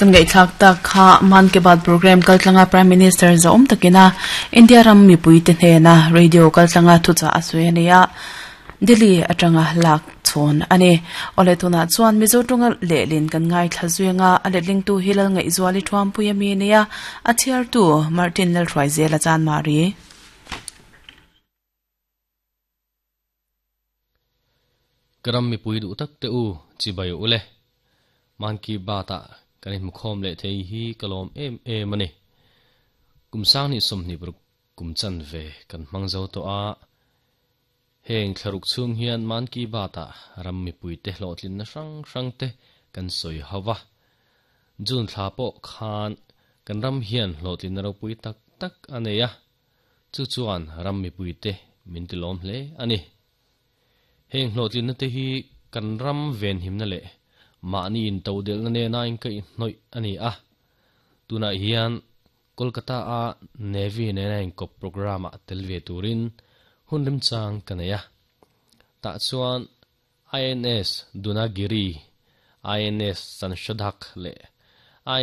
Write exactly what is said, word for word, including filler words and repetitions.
Kan ngai thlak tak kha Man Ki Baat program kaltlanga Prime Minister zaum takina India ram mipui te hnena radio kaltlanga thucha asui ania Delhi atanga lak chon ani ole tuna chuan Mizo tunga lelin kan ngai thlazuanga a letling tu hilal ngai zuali thuam puya mi nia a thiar tu Martin lal thrai zela chan mari Karam mi pui du tak te u chi bai ule Man Ki Baat a kanin mukhom le thei hi kalom em em ani kumsang ni somni bur kumchan ve kan mangzo to a heng thlaruk chung hian Man Ki Baat a ram mi pui te hlotlin na rang rang te kan soi hawa jun thla po khan kan ram hian hlotlin na ro pui tak tak aneya chu chuan ram mi pui te min ti lom hle ani heng hlotlin na te hi kan ram ven him na le mani in to del na ne na in kai noi ani a tuna hian Kolkata a Navy ne na in kop program a telve turin hunrim chang kanaya ta chuan I N S Dunagiri I N S Sanshodhak le